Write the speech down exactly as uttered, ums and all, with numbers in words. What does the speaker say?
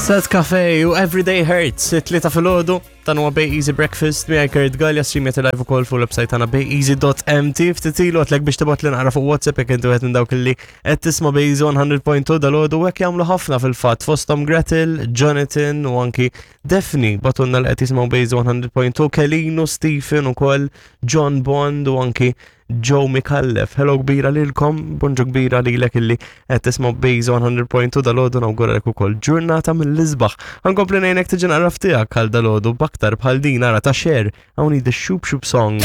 Sad Cafe u Everyday Hurts, it-tlieta filgħodu, dan huwa Bay Easy Breakfast, miegħi Kurt Gallia, streamjet live ukoll fuq l-website tagħna bayeasy.mt. Ftit ilu għedtlek biex tibgħat li naqra fuq WhatsApp jekk inti wieħed minn dawk li qed tisma' Bay Easy one hundred point two dalgħodu, u hekk jagħmlu ħafna fil-fatt, fosthom Gretel, Jonathan u anki Daphne bagħtulna li qed jisimgħu Bay Easy one hundred point two, Kelino, Stephen ukoll, John Bond u anki Joe Mikallef. Hello kbira lilkom, bonġu kbira lilek illi qed tisma' Bay Easy one hundred point two dalgħodu, nawguralek ukoll ġurnata mill-isbaħ. Ħa nkompli ngħinek tiġi naqra tiegħek għal dalgħodu b'aktar bħal din, ara, ta' Cher, hawn The Shoop Shoop Song.